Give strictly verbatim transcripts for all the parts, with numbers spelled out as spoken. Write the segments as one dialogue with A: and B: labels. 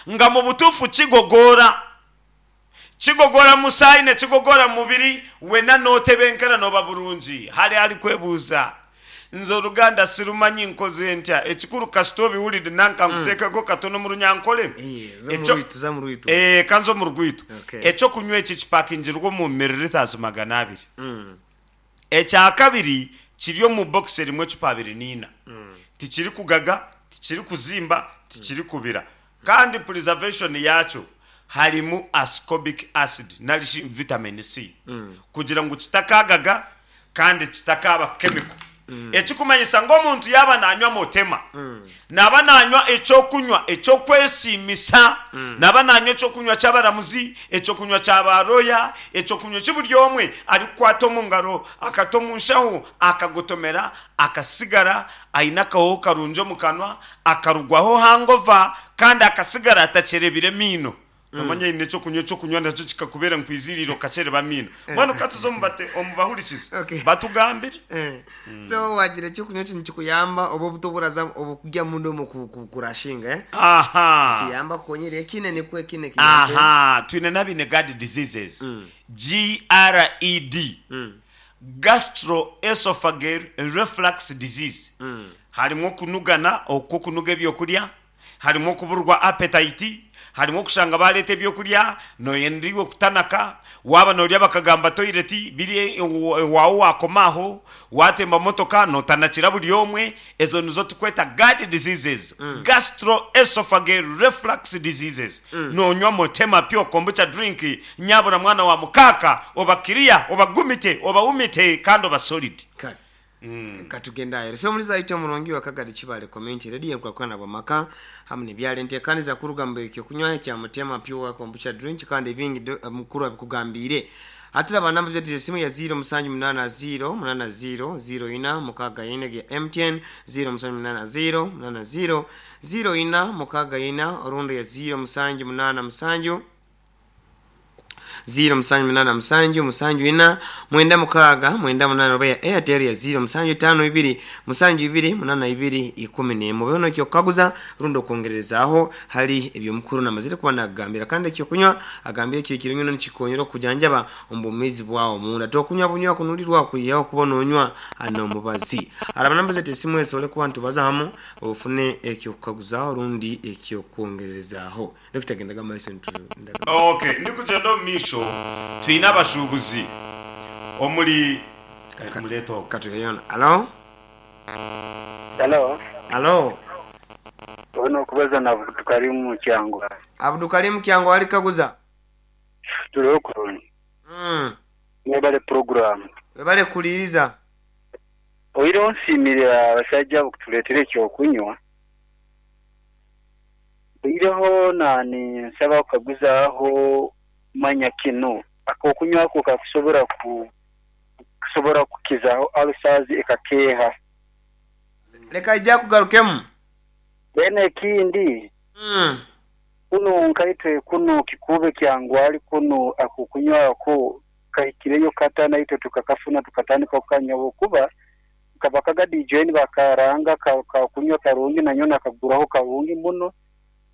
A: Nga mu butuufu kigogoora. Kigogoora musaayi nekigogoora mu mubiri wena notebenkera noba burungi. Hariho arikwebuuza, nze oruganda sirumanyi nkoze ntya? Ekikuru kasita obiwulire nanka nkuteekeko katono omu runyankore.
B: Eh, za
A: Ekyo-
B: omu rwitu, za omu rwitu.
A: Eh, kanze omu rwitu.
B: Okay.
A: Ekyokunywa eki kipakingirwe omu milliliters magana abiri.
B: Mm.
A: Ekyakabiri kiri omu box erimu ecupa abiri n'ina. Tikirikugaga, tikirikuzimba, tikirikubira. Kandi preservation yaakyo harimu ascorbic acid narishi vitamin C kugira ngu kitakagaga kandi kitakaba chemical. Ekikumanyisa ngu omuntu yaaba nanywa Motema, naaba nanywa ekyokunywa ekyokwesiimisa, naaba nanywa ekyokunywa ky'abaramuzi, ekyokunywa kya ba lawyer, ekyokunywa eki buri omwe arikukwata omu ngaro akata omu nshaho akagotomera akasigara aine akahooho karungi omu kanwa, akarugwaho hangover kandi akasigara atakyerebire emiino. Nomanya haine ekyokunywa ekyokunywa nakyo kikakubeera nkwiziriire okakyereba amiino. Mbwenu katuze omu bate omu bahurikize
B: Okay.
A: batugambire.
B: Eh. So wagira ekyokunywa kinu kikuyamba oba obuto oburaza obukugya munda omu ku- ku- kurashinga eh?
A: Aha.
B: Kiyamba kukonyera ekine nikwo ekine kiyambe.
A: Aha, twine n'abaine GERD diseases. GERD. Gastroesophageal reflux disease. Harimu okunugana okw'okunuga ebyokurya, harimu okuburwa appetite, harimu okushanga bareeta ebyokurya noyenda iwe kutanaka, waaba norya bakagamba toilet biri owaawe wakoma aho, watemba motoka notanakira buri omwe, ezo nizo turikweta GERD diseases, gastroesophageal reflux diseases. Nonywa Motema Pure Kombucha drink nyabura mwana wa mukaaka oba clear, oba gumite, oba wumite kandi oba solid.
B: Kale. Katugenda ahere. So omulizi aite omurungi wa Kagadi Kibale Community Radio enkulaakulana bw'amaka hamu n'ebyaro enteekaniza kuruga mu ekyokunywa ekya Mutema Pure Kombucha Drink kandi ebingi do- mukuru abikugambiire. Hati raba namba zetu z'esimu ya ziro musanju munaana ziro munaana ziro ziro ina mukaaga ina ya M T N ziro musanju munaana ziro munaana ziro ziro ina mukaaga ina, orundi ya ziro musanju munaana musanju ziro musanju munaana musanju musanju ina mwenda mukaaga mwenda munaana, oba ya Airtel ya ziro musanju etaano ibiri musanju ibiri munaana ibiri ikumi n'emwe. Obeho n'ekyokukaguza rundi okwongererezaaho hali ebyomukuru namazire kuba nagambira. Kandi ekyokunywa agambire kiri kirungi muno, nikikonyera okujanjaba omu bwomeezi bwawe omunda. Tokunywa bunywa kunulirwa kwihaho kuba nonywa n'omubazi. Araba namba zetu esimu esobole kuba nitubaza hamu ofune ekyokukaguzaho rundi ekyokwongererezaaho. Dokita, maiso nitu
A: Okay, ndikugyenda omu maisho, twine abashuubuzi omuri mureeta ogwo.
B: Katugeyona. Alo?
C: Hello.
B: Alo?
C: Ono okubaza na Abdukarimu Kyangwa.
B: Abdukarimu Kyangwa, wali kaguza.
C: Turiho kurungi.
B: mm.
C: Mwebale program.
B: Webale kuliiriza.
C: Oireho nsiimire abasajja abo kutuleetera ekyokunywa. Oireho nani nsaba kukaguzaaho manya kinu akokunywa ako kakusobora ku kusobora kukizaho ulcers ekakeeha.
B: Leka ija kugarukemu.
C: Then ekindi,
B: mm.
C: kuno nkaitwe kuno Kikube Kyangwali kuno akukunywa ako kahikireyo kata naitwe tukakafuna tukatandika kukanywa kuba kaba kagadi join bakaranga ka, ka kunywa karungi nanyo nakaguraho karungi muno.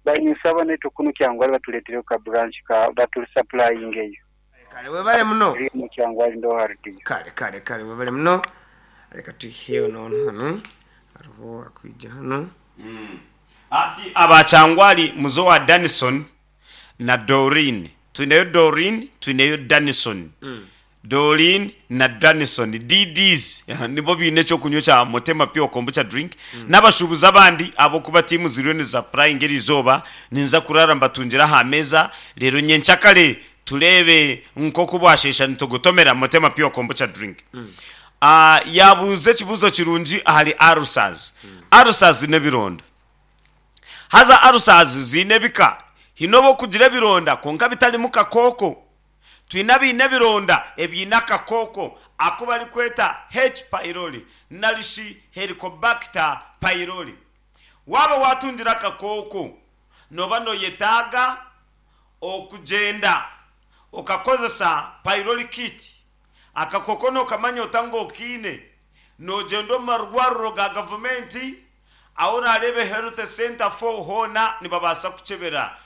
C: Banyisaba naitwe kuno Kyangwali batuleetereyo ka branch ka batu supplying eyo.
B: Kale, webale muno.
C: Eri mu Kyangwali ndo hardi.
B: Kale kale kale, webale muno. Leka tuiheyo nono hano hariho akwija hano.
A: Ati abakyangwali muzo wa Danison na Doreen. Twineyo Doreen, twineyo Danison. Doreen na Danison D Ds nibo biine ekyokunywa kya Motema Pure Kombucha drink n'abashuubuzi abandi abokuba tiimu ziriyo nizapurayinga eri izooba. Ninza kurara mbatungira aha meeza reero nyenkyakare tureebe nk'oku bwashesha nitugotomera Motema Pure Kombucha drink. Ah, yabuuza ekibuuzo kirungi ahari ulcers. Ulcers n'ebironda. Haza ulcers ziine ebika. Hiine obu okugira ebironda kwonka bitarimu kakooko. Twine abaine ebironda ebiine akakooko aku barikweta H pylori narishi Helicobacter pylori. Waaba watungira akakooko nooba noyetaaga okugyenda okakozesa pylori kit. Akakooko nokamanya ota ngu okiine? Nogyenda omu marwariro ga gavumenti ahu orareebe health center four hoona nibabaasa kukyebera.